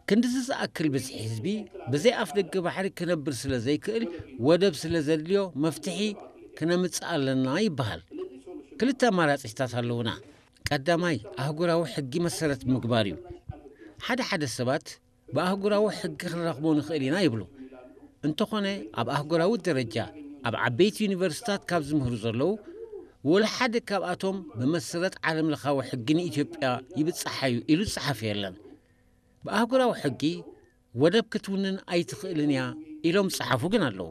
ክንድዚ ዝኣክል ብዝሒ ህዝቢ ብዘይ ኣፍ ደገ ባሕሪ ክነብር ስለ ዘይክእል፣ ወደብ ስለ ዘድልዮ መፍትሒ ክነምጽእ ኣለና ይበሃል። ክልተ ኣማራጺታት ኣለዉና። ቀዳማይ፣ ኣህጉራዊ ሕጊ መሰረት ምግባር እዩ። ሓደ ሓደ ሰባት ብኣህጉራዊ ሕጊ ክንረኽቦ ንኽእል ኢና ይብሉ። እንተኾነ፣ ኣብ ኣህጉራዊ ደረጃ ኣብ ዓበይቲ ዩኒቨርሲታት ካብ ዝምህሩ ዘለዉ፣ ወላ ሓደ ካብኣቶም ብመሰረት ዓለም ለኻዊ ሕጊ ንኢትዮጵያ ይብጽሓ እዩ ኢሉ ዝጸሓፈ የለን። ብኣህጉራዊ ሕጊ ወደብ ክትውንን ኣይትኽእልን እያ ኢሎም ዝጸሓፉ ግን ኣለዉ።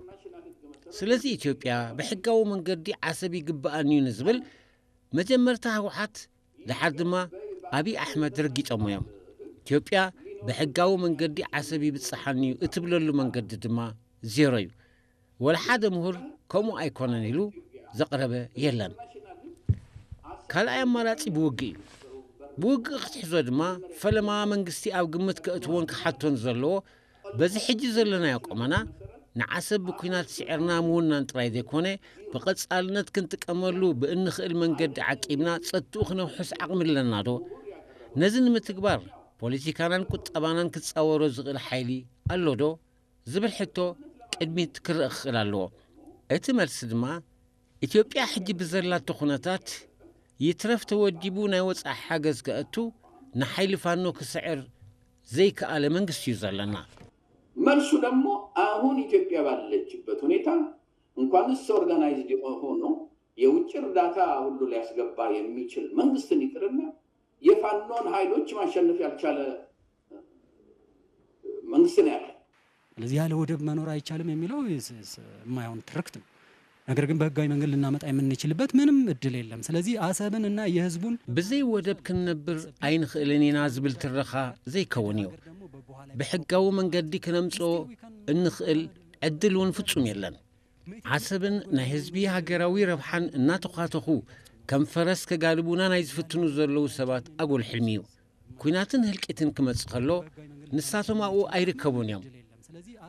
ስለዚ ኢትዮጵያ ብሕጋዊ መንገዲ ዓሰብ ይግብኣኒ እዩ ንዝብል መጀመርታ ህወሓት፣ ደሓር ድማ ኣብይ ኣሕመድ ረጊጾሞ እዮም። ኢትዮጵያ ብሕጋዊ መንገዲ ዓሰብ ይብጽሓኒ እዩ እትብለሉ መንገዲ ድማ ዜሮ እዩ። ወላ ሓደ ምሁር ከምኡ ኣይኮነን ኢሉ ዘቕረበ የለን። ካልኣይ ኣማራጺ ብውግእ እዩ። ብውግእ ክትሕዞ ድማ ፈለማ መንግስቲ ኣብ ግምት ከእትዎን ክሓቶን ዘለዎ፣ በዚ ሕጂ ዘለናዮ ቁመና ንዓሰብ ብኲናት ስዒርና ምውናን ጥራይ ዘይኮነ፣ ብቐጻልነት ክንጥቀመሉ ብእንኽእል መንገዲ ዓቂብና ጸጥትኡ ክነውሕስ ዓቕሚ ኣለና ዶ? ነዚ ንምትግባር ፖለቲካናን ቁጠባናን ክጻወሮ ዝኽእል ሓይሊ ኣሎ ዶ? ዝብል ሕቶ ቅድሚት ክረአ ክኽእል ኣለዎ። እቲ መልሲ ድማ፣ ኢትዮጵያ ሕጂ ብዘላቶ ኩነታት ይትረፍ ተወዲቡ ናይ ወጻኢ ሓገዝ ከእቱ፣ ንሓይሊ ፋኖ ክስዕር ዘይከኣለ መንግስቲ እዩ ዘለና። መልሱ ደግሞ አሁን ኢትዮጵያ ባለችበት ሁኔታ እንኳንስ ኦርጋናይዝድ ሆኖ የውጭ እርዳታ ሁሉ ሊያስገባ የሚችል መንግስትን ይቅርና የፋኖን ኃይሎች ማሸነፍ ያልቻለ መንግስት ነው ያለ። ስለዚህ ያለ ወደብ መኖር አይቻልም የሚለው የማይሆን ትርክት ነው። ነገር ግን በህጋዊ መንገድ ልናመጣ የምንችልበት ምንም እድል የለም። ስለዚህ አሰብን እና የህዝቡን ብዘይ ወደብ ክንነብር ኣይንኽእልን ኢና ዝብል ትረኻ ዘይከውን እዩ። ብሕጋዊ መንገዲ ክነምጽኦ እንኽእል ዕድል እውን ፍጹም የለን። ዓሰብን ናይ ህዝቢ ሃገራዊ ረብሓን እናተዃተኹ ከም ፈረስ ከጋልቡና ናይ ዝፍትኑ ዘለዉ ሰባት ኣጎል ሕልሚ እዩ። ኲናትን ህልቂትን ክመጽእ ከሎ ንሳቶም ኣብኡ ኣይርከቡን እዮም።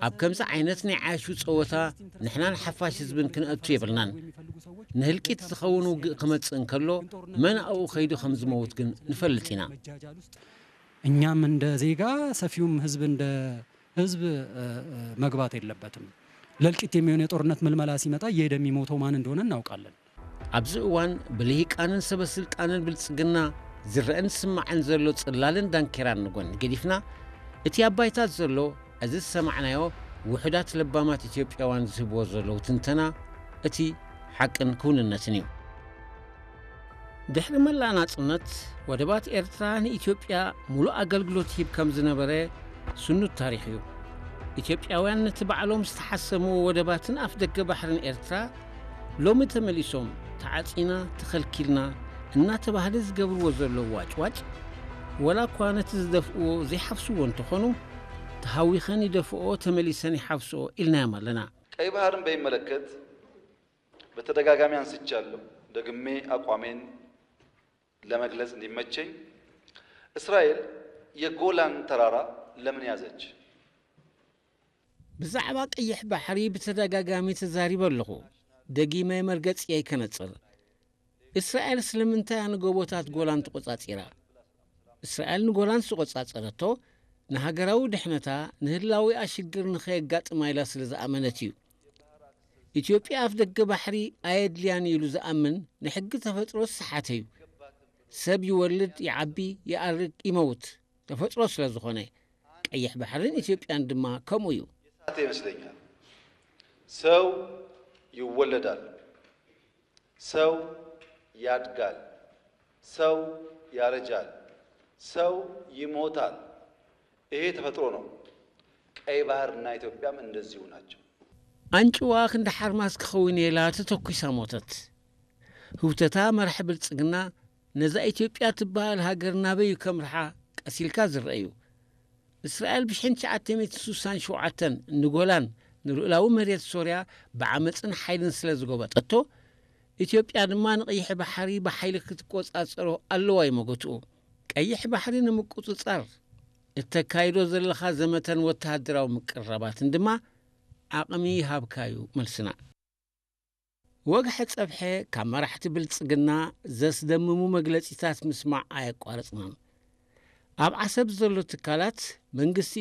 ኣብ ከምዚ ዓይነት ናይ ዓያሹ ጸወታ ንሕናን ሓፋሽ ህዝብን ክንእቱ የብልናን። ንህልቂት ዝኸውን ውግእ ክመጽእ እንከሎ መን ኣብኡ ከይዱ ከም ዝመውት ግን ንፈልጥ ኢና። እኛም እንደ ዜጋ ሰፊውም ህዝብ እንደ ህዝብ መግባት የለበትም። ለእልቂት የሚሆን የጦርነት ምልመላ ሲመጣ እየሄደ የሚሞተው ማን እንደሆነ እናውቃለን። ኣብዚ እዋን ብልሂቃንን ሰበ ስልጣንን ብልጽግና ዝረአን ዝስማዕን ዘሎ ጽላልን ዳንኬራን ንጎኒ ገዲፍና፣ እቲ ኣብ ባይታ ዘሎ፣ እዚ ዝሰማዕናዮ ውሑዳት ለባማት ኢትዮጵያውያን ዝህብዎ ዘለዉ ትንተና፣ እቲ ሓቅን ክውንነትን እዩ። ድሕሪ መላእ ናጽነት፣ ወደባት ኤርትራ ንኢትዮጵያ ሙሉእ ኣገልግሎት ይህብ ከም ዝነበረ ስኑድ ታሪኽ እዩ። ኢትዮጵያውያን ነቲ ባዕሎም ዝተሓሰምዎ ወደባትን ኣፍደገ ባሕርን ኤርትራ ሎሚ ተመሊሶም ተዓጺና ተኸልኪልና እናተባህለ ዝገብርዎ ዘለዉ ዋጭዋጭ፣ ወላ እኳ ነቲ ዝደፍእዎ ዘይሓፍስዎ እንተኾኑ፣ ተሃዊኸን ይደፍኦ ተመሊሰን ይሓፍስኦ ኢልናዮም ኣለና። ቀይ ባህርን በሚመለከት በተደጋጋሚ አንስቻለሁ። ደግሜ አቋሜን ለመግለጽ እንዲመቸኝ፣ እስራኤል የጎላን ተራራ ለምን ያዘች? ብዛዕባ ቀይሕ ባሕሪ ብተደጋጋሚ ተዛሪበ ኣለኹ። ደጊመ መርገጺ ኣይከነጽር። እስራኤል ስለምንታይ ንጎቦታት ጎላን ተቆጻጺራ? እስራኤል ንጎላን ዝተቆጻጸረቶ ንሃገራዊ ድሕነታ፣ ንህላዊኣ ሽግር ንኸየጋጥማ ኢላ ስለ ዝኣመነት እዩ። ኢትዮጵያ ኣፍ ደገ ባሕሪ ኣየድልያን ኢሉ ዝኣምን ንሕጊ ተፈጥሮ ዝሰሓተ እዩ። ሰብ ይወልድ፣ ይዓቢ፣ ይኣርግ፣ ይመውት ተፈጥሮ ስለ ዝኾነ፣ ቀይሕ ባሕርን ኢትዮጵያን ድማ ከምኡ እዩ። ይመስለኛል። ሰው ይወለዳል፣ ሰው ያድጋል፣ ሰው ያረጃል፣ ሰው ይሞታል። ይሄ ተፈጥሮ ነው። ቀይ ባህርና ኢትዮጵያም እንደዚሁ ናቸው። ኣንጭዋ ክንዲ ሓርማዝ ክኸውን ኢላ ተተኲሳ ሞተት። ህውተታ መራሒ ብልጽግና ነዛ ኢትዮጵያ ትበሃል ሃገር ናበይ እዩ ከምርሓ ቀሲልካ ዝረአ እዩ። እስራኤል ብሽሕን ትሽዓተ ሚእትን ስሳን ሸውዓተን ንጎላን ንልኡላዊ መሬት ሶርያ ብዓመጽን ሓይልን ስለ ዝጎበጠቶ፣ ኢትዮጵያ ድማ ንቐይሕ ባሕሪ ብሓይሊ ክትቆጻጸሮ ኣለዋ እዩ መጎትኡ። ቀይሕ ባሕሪ ንምቁጽጻር እተካይዶ ዘለኻ ዘመተን ወተሃደራዊ ምቅርራባትን ድማ ዓቕሚ ይሃብካ እዩ መልስና። ወግሐ ጸብሐ ካብ መራሕቲ ብልጽግና ዘስደምሙ መግለጺታት ምስማዕ ኣየቋረጽናን። ኣብ ዓሰብ ዘሎ ትካላት መንግስቲ